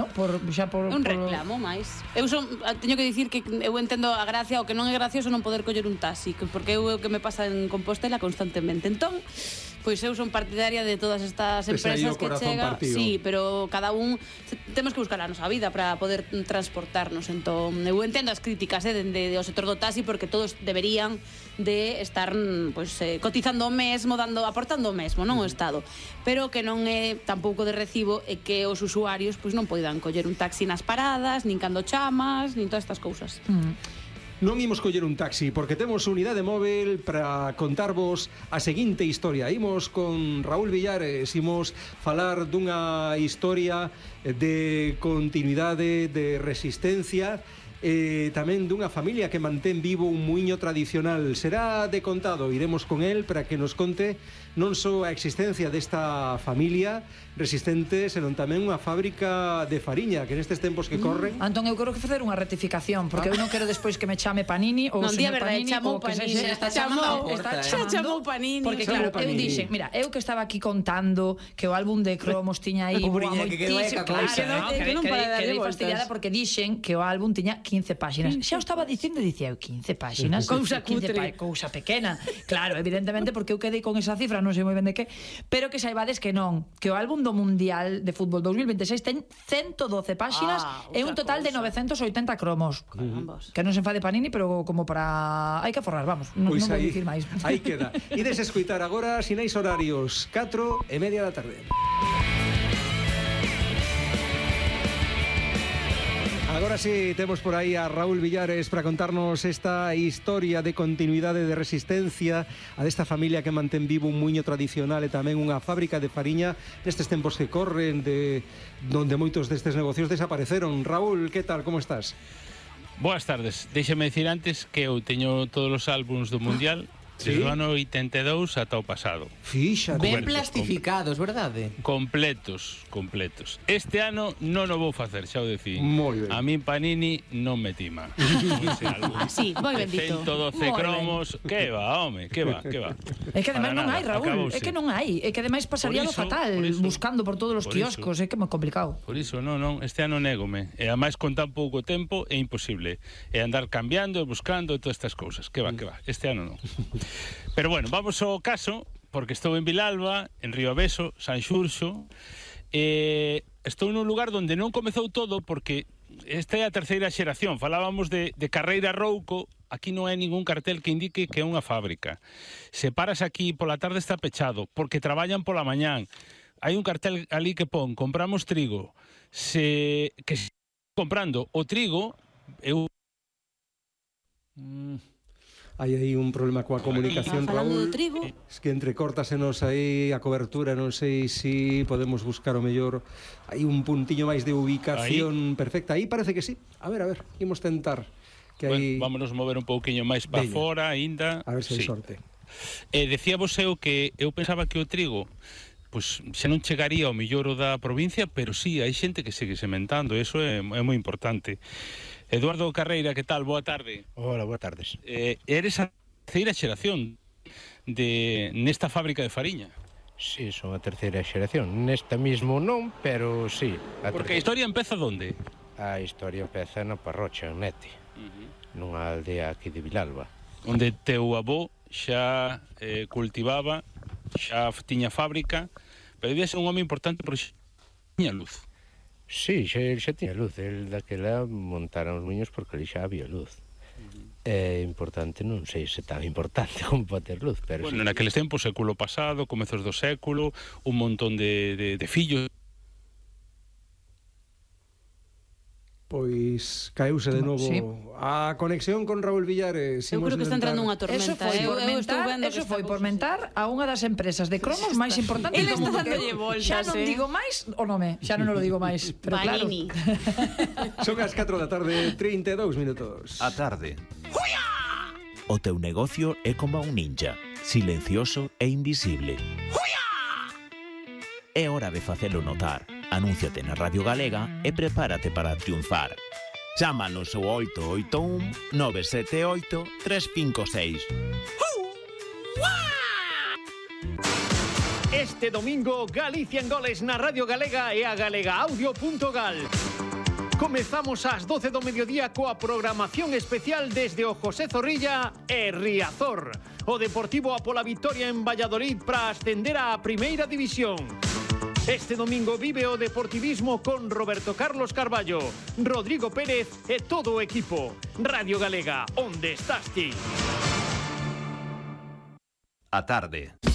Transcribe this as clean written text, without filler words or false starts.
no? Un reclamo máis. Teño que dicir que eu entendo a gracia, o que non é gracioso non poder coller un taxi, porque é o que me pasa en Compostela constantemente. Entón, pois eu son partidaria de todas estas empresas que chegan, sí, pero cada un temos que buscar a nosa vida para poder transportarnos. Entón, eu entendo as críticas dende o sector do taxi, porque todos deberían de estar cotizando o mesmo, aportando o mesmo, non o Estado, pero que non é tampouco de recibo e que os usuarios pois non poidan coller un taxi nas paradas, nin cando chamas, nin todas estas cousas. Non imos coller un taxi porque temos unidade móvil para contarvos a seguinte historia. Imos con Raúl Villares, imos falar dunha historia de continuidade, de resistencia, tamén dunha familia que mantén vivo un muiño tradicional. Será de contado, iremos con él para que nos conte non só a existencia desta familia resistente, senón tamén unha fábrica de fariña que nestes tempos que corren. Antón, eu quero que facer unha rectificación, porque eu non quero despois que me chame Panini ou señor Panini, chamou Panini, está chamou Panini, porque claro, eu dixen, mira, eu que estaba aquí contando que o álbum de cromos tiña aí moitísimo, que non para darlle fastidiada porque dixen que o álbum tiña 15 páxinas. Xa o estaba dicindo, dicía eu, 15 páxinas, cousa cutre, cousa pequena. Claro, evidentemente, porque eu quedei con esa cifra, non sei moi ben de que, pero que saibades que non, que o álbum do Mundial de Fútbol 2026 ten 112 páxinas e un total de 980 cromos. Que non se enfade Panini, pero como para... hai que aforrar, vamos, non vou dicir máis. Aí queda. Ides escoitar agora sinais horarios 4:30 da tarde. Agora sí, temos por aí a Raúl Villares para contarnos esta historia de continuidade de resistencia a desta familia que mantén vivo un muiño tradicional e tamén unha fábrica de fariña nestes tempos que corren, de donde moitos destes negocios desapareceron. Raúl, que tal, como estás? Boas tardes. Déixame decir antes que eu teño todos os álbuns do Mundial desde o ano 82 ata o pasado. Fíxate. Ben plastificados, verdade? Completos. Este ano non o vou facer, xa o decín. A min Panini non me tima. Sí, moi bendito. 112 cromos, que va, home, que va. É que ademais non hai, Raúl, é que non hai. É que ademais pasaría lo fatal buscando por todos os quioscos, é que é moi complicado. Por iso, non, este ano négome. E ademais con tan pouco tempo é imposible. E andar cambiando e buscando e todas estas cousas. Que va, este ano non. Pero bueno, vamos ao caso, porque estou en Vilalba, en Rioaveso, San Xurxo, estou nun lugar onde non comezou todo, porque esta é a terceira xeración. Falábamos de Carreira Rouco, aquí non hai ningún cartel que indique que é unha fábrica. Se paras aquí pola tarde está pechado, porque traballan pola mañán. Hai un cartel ali que pon, compramos trigo. Que se comprando o trigo, eu... Hai aí un problema coa comunicación, Raúl. Es que entrecortasenos aí a cobertura, non sei se podemos buscar o mellor. Hai un puntiño máis de ubicación perfecta. Aí parece que sí. A ver, imos tentar. Bueno, vámonos mover un pouquiño máis para fora aínda. A ver se hai sorte. Decíavos eu que eu pensaba que o trigo pois xa non chegaría ao mellor da provincia, pero sí, hai xente que segue sementando, eso é moi importante. Eduardo Carreira, que tal? Boa tarde. Hola, boas tardes. Eres a terceira xeración nesta fábrica de fariña. Sí, son a terceira xeración. Nesta mismo non, pero sí. Porque a historia empeza onde? A historia empeza na Parrocha, en Nete, nunha aldea aquí de Vilalba. Onde teu avó xa cultivaba, xa tiña fábrica, pero debía ser un home importante porque xa tiña luz. Sí, xa tiña luz. El daquela montaron os muiños porque ali xa había luz. É importante, non sei se tan importante como para ter luz, pero bueno, naqueles tempos, século pasado, comezos do século, un montón de fillos. Pois caeuse de novo a conexión con Raúl Villares. Eu creo que está entrando unha tormenta. Eso foi por mentar a unha das empresas de cromos máis importantes do mundo. Xa non digo máis o nome, xa non lo digo máis, pero claro. Son as 4 da tarde, 32 minutos. A tarde. O teu negocio é como un ninja, silencioso e invisible. É hora de facelo notar. Anúnciate na Radio Galega e prepárate para triunfar. Chámanos ao 881 978 356. Este domingo, Galicia en goles na Radio Galega e a galegaaudio.gal. Comezamos ás 12 do mediodía coa programación especial desde o José Zorrilla e Riazor. O Deportivo a pola vitoria en Valladolid para ascender á Primeira División. Este domingo vive o deportivismo con Roberto Carlos Carballo, Rodrigo Pérez e todo o equipo. Radio Galega, onde estás ti? A tarde.